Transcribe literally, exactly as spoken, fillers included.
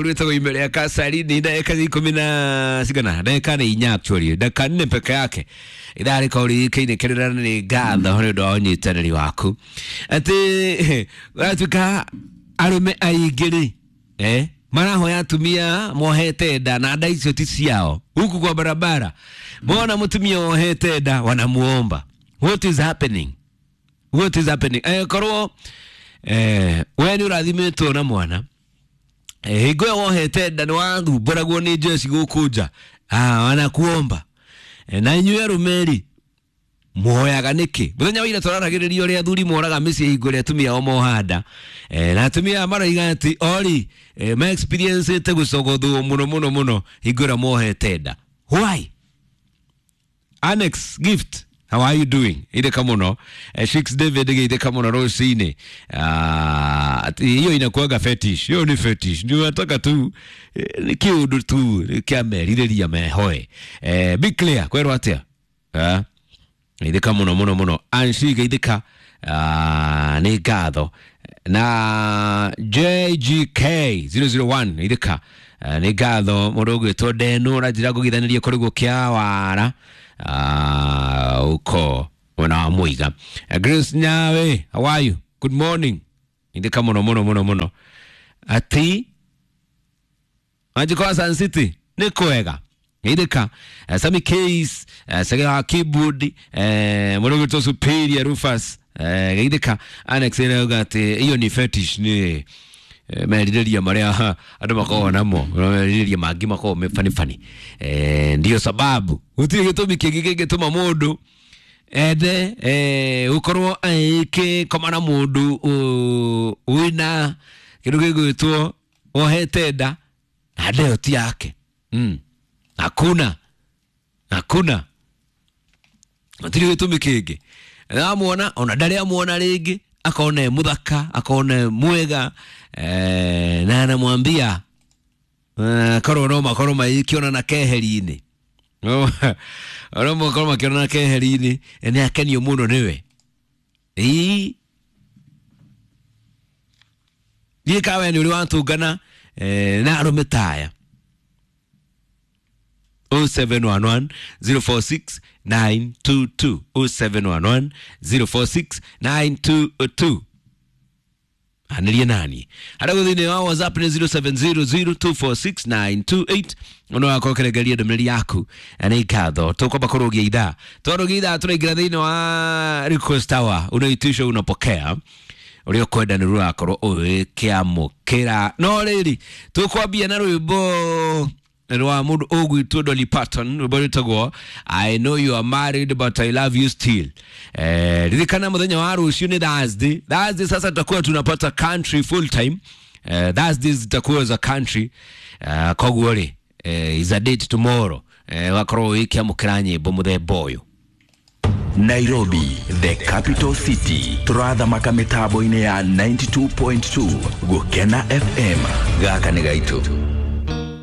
Rwĩtagwo ime rĩa Kasari ni ndagĩka ikũmi na cigana, ndagĩka nĩ inya actually, ndagĩka nne peke yake. Ithaa rĩkorwo rĩkĩinĩkĩrĩra nĩ ngatho nĩ ũndũ wa ũnyitanĩri waku. Atĩ ũratuĩka arũme aingĩ rĩ, eh, marahoya atumia mohete nda na nda icio ti ciao huku kwa barabara mona mutumia wohete nda wanamuomba. What is happening? What is happening? Eh, korwo eh, we nĩ ũrathimĩtwo na mwana, eh, hingo ĩyo wohete nda nĩ wathumbũragwo nĩ njeci gũkũ nja, ah, wanakuomba. Eh, na inyuĩ arũme rĩ muoyaga nĩkĩ? Mũthenya wa ira tũraragĩrĩria ũrĩa athuri moraga mĩciĩ hingo ĩrĩa atumia ao moha nda, eh, na atumia aya maroiga atĩ ori eh, ma experience-ĩte gũcogothwo mũno mũno mũno hingo ĩrĩa mohete nda. Why? Annex Gift, how are you doing? Itheka mũno. Eh, Shix David gĩitheka mũno rũcinĩ. Ah, hiyo inakuwaga fetish. Hiyo ni fetish. Ndio nataka tu eh, ni kĩũndũ tu kĩa merirĩria mehoe. Eh, be clear kwerwo atĩa? Ah, itheka mũno mũno mũno. Anshi geithĩka, ah, nĩ ngatho. Na J G K zero zero one itheka, ah, nĩ ngatho. Mũndũ ũgwĩtwo Ndenu ũranjĩra ngũgithanĩrie kũrĩgwo kĩa wara, ah, uko mwena wa Mũiga. Eh, Grace Nyawe, how are you? Good morning. Itheka mũno mũno mũno mũno. Ati Wanjikwa Sun City nĩ kwega. Itheka. eh, Sami Case, eh, Sege wa keyboard, eh, mũndũ ũgwĩtwo Superior Rufus, eh, geithĩka. Annex ĩrauga atĩ hiyo ni fetish, nĩ eh, merirĩria marĩa andũ makoragwo namo, merirĩria mangĩ makoragwo me funny funny, eh, ndio sababu gũtirĩ gĩtũmi kĩngĩ kĩngĩtũma mũndũ ende eh, gũkorwo agĩkoma na mũndũ ũ- wĩna kĩndũ gĩgwĩtwo wohete nda na nda ĩyo ti yake. mm. Hakuna, hakuna, gũtirĩ gĩtũmi kĩngĩ. Amuona ona ndarĩ amuona rĩngĩ, akona e mũthaka, akona e mwega, eh, na anamwambia eh, korwo no makorwo magĩkĩonana keheri-inĩ, no makorwo makĩonana keheri-inĩ, nĩ akenio mũno nĩwe. Ĩĩ, thiĩ kawe nĩ ũrĩ watũngana eh, na arũme taya. zero seven one one zero four six nine two two, zero seven one one zero four six nine two two, anĩrie nani harĩa thĩinĩ wa WhatsApp nĩ zero seven zero zero two four six nine two eight. Ono wakorwo ũkĩrengeria ndũmĩrĩri yaku na nĩ ngatho. Tũkwamba kũrũgia ithaa, twarũgia ithaa tũraingĩra thĩinĩ wa request hour. Unaitisha, unapokea, ũrĩa ũkwenda nĩ rũrakorwo ũgĩkĩamũkĩra. No rĩrĩ, tũkwambia na rwĩmbo rwa mũndũ ũgwĩtwo Dolly Parton, rwĩmbo rwĩtagwo "I Know You Are Married But I Love You Still". Eh, ririkana mũthenya wa rũciũ nĩ Thursday. Thursday sasa tutakuwa tunapata country full time. Eh, Thursdays zitakuwa za country. Eh, koguo rĩ, eh, is a date tomorrow, eh, wakorwo ũgĩkĩamũkĩra nyĩmbo mũthemba ũyũ. Nairobi, the capital city, turathamaka mitambo-inĩ ya ninety-two point two Gukena F M. Gaka nĩ gaitũ.